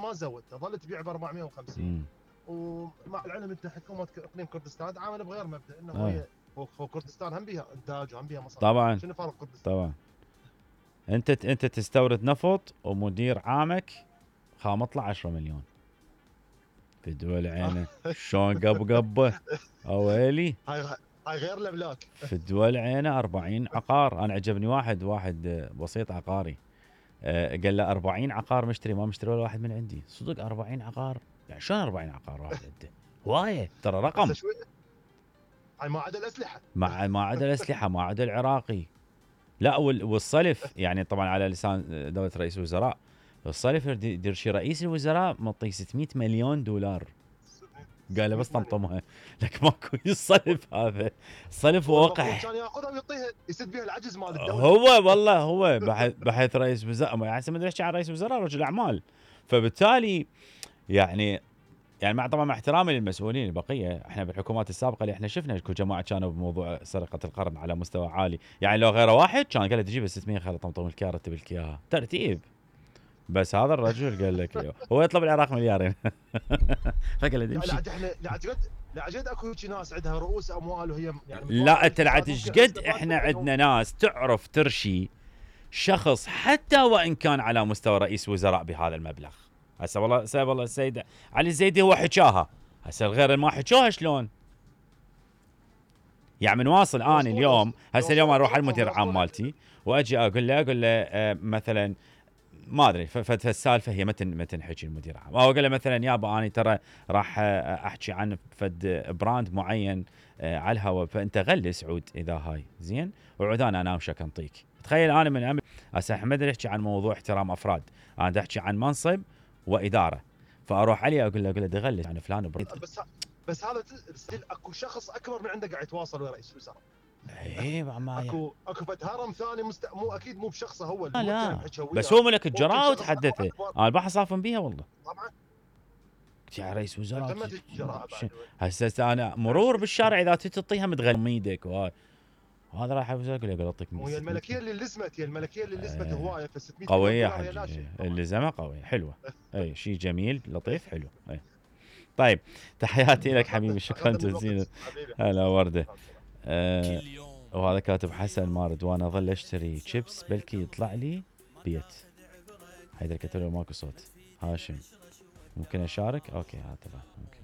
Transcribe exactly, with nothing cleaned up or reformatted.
ما زودته، ظلت تبيع ب أربعمية وخمسين. ومع العلم انت حكومه اقليم كردستان تعامل بغير مبدا، انه آه. هي هو كردستان هم بيها انتاج وهم بيها مصانع. طبعا شنو فرق كردستان؟ طبعا انت انت تستورد نفط ومدير عامك خامط له عشرة مليون في دول عينه. شلون قب قبه اويلي. هاي هاي غير الاملاك. في الدول عينه أربعين عقار. انا عجبني واحد واحد بسيط عقاري، أه قال له أربعين عقار مشتري، ما مشتري ولا واحد من عندي. صدق أربعين عقار؟ يعني شلون أربعين عقار واحد عنده؟ هوايه ترى رقم. هاي ما عدا الاسلحه، مع ما عدا الاسلحه، ما عدا العراقي. لا والصلف يعني طبعا على لسان دوله رئيس الوزراء، الصلف يدير شي رئيس الوزراء معطيه ستمية مليون دولار. قال له بس طمطمها لك ماكو الصلف هذا. الصلف وقح كان ياخذها ويعطيها يسد بها العجز مال الدوله. هو والله هو بحيث, بحيث رئيس وزراء يعني ما ادري ايش عن رئيس وزراء، رجل اعمال. فبالتالي يعني يعني مع طبعا مع احترامي للمسؤولين البقيه، احنا بالحكومات السابقه اللي احنا شفنا اكو جماعه كانوا بموضوع سرقه القرن على مستوى عالي، يعني لو غيره واحد كان قال له تجيب ستمية خلي طمطم الكاره تبي لك اياها ترتيب. بس هذا الرجل قال لك هو يطلب العراق مليارين. فقال له تمشي. لا احنا لا عجد لا عجد اكو ناس عندها رؤوس اموال وهي يعني لا انت لا قد احنا عندنا ناس تعرف ترشي شخص حتى وان كان على مستوى رئيس وزراء بهذا المبلغ. هسه والله سيد والله السيد علي الزيدي هو حكاها، هسه الغير ما حكوها شلون؟ يعني من واصل انا اليوم هسه اليوم اروح على المدير العام مالتي واجي اقول له اقول له آه مثلا ما ادري فالسالفه هي متن متن حكي المدير العام، او اقول له مثلا يابا انا ترى راح احكي عن فد براند معين آه على الهواء، فانت غلس عود اذا هاي زين وعود انا اناوشك انطيك. تخيل انا من عمل هسه احمد يحكي عن موضوع احترام افراد، انا احكي عن منصب واداره، فاروح عليه اقول له اقول له دغلس عن فلان بريد. بس بس هذا اكو شخص اكبر من عنده قاعد يتواصل ويا رئيس الوزراء. اي ما اكو اكو فد هرم ثاني مست... مو اكيد مو بشخصه هو لا, لا. بس هو ملك الجراءه وتحدثه انا بحصافن بيها والله طبعا يا رئيس وزراء. تمت الجراءه هسه انا مرور بالشارع اذا تعطيها متغلم ايدك وهاي وهذا راح يقول لك اعطيك. وهي الملكيه اللي لزمت هي الملكيه اللي لزمت هوايه ف ستمية قويه حجي اللي زمه قويه حلوه. اي شيء جميل لطيف حلو. اي طيب تحياتي لك حبيبي شكرا جزيلا. هلا ورده. آه وهذا كاتب حسن مارد وانا اظل اشتري شيبس بلكي يطلع لي بيت. حيدر كتب له ماكو صوت. هاشم ممكن اشارك؟ اوكي هذا طبعا ممكن.